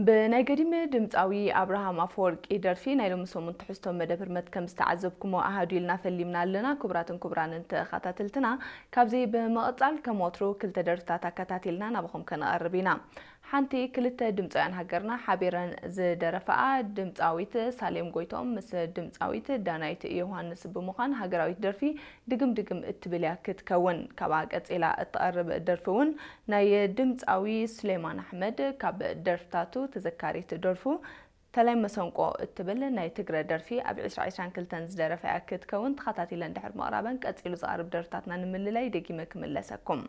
ብናይ ገዲም ድምፃዊ ኣብርሃም ኣፈወርቂ ደርፊ ናይ ሎሚ ሰሙን ትሕዝቶ መደብ ህርመት ከም ዝተዓዘብኩሞ ኣሃዱ ኢልና ፈሊምና ኣለና። ክቡራትን ክቡራንን ተኸታተልትና፣ ካብዚ ብምቕፃል ከም ወትሩ ክልተ ደርፍታት ኣከታቲልና ናባኹም ከነቐርብ ኢና። ሓንቲ ክልተ ድምፃውያን ሃገርና ሓቢረን ዝደረፈኣ ድምፃዊት ሳሌም ጎይቶም ምስ ድምፃዊት ዳናይት ዮሃንስ ብምዃን ሃገራዊት ደርፊ ድግም ድግም እትብል እያ ክትከውን። ካብኣ ቀፂላ እትቐርብ ደርፊ እውን ናይ ድምፃዊ ሱሌማን ኣሕመድ ካብ ደርፍታቱ ተዘካሪት ደርፉ ተላይ መሰንቆ እትብል ናይ ትግረ ደርፊ ኣብ ዕስራ ዕስራን ክልተን ዝደረፈ እያ ክትከውን። ተኸታቲለን ድሕር ምቕራበን ቀፂሉ ዝቐርብ ደርፍታትና ንምልላይ ደጊመ ክምለሰኩም።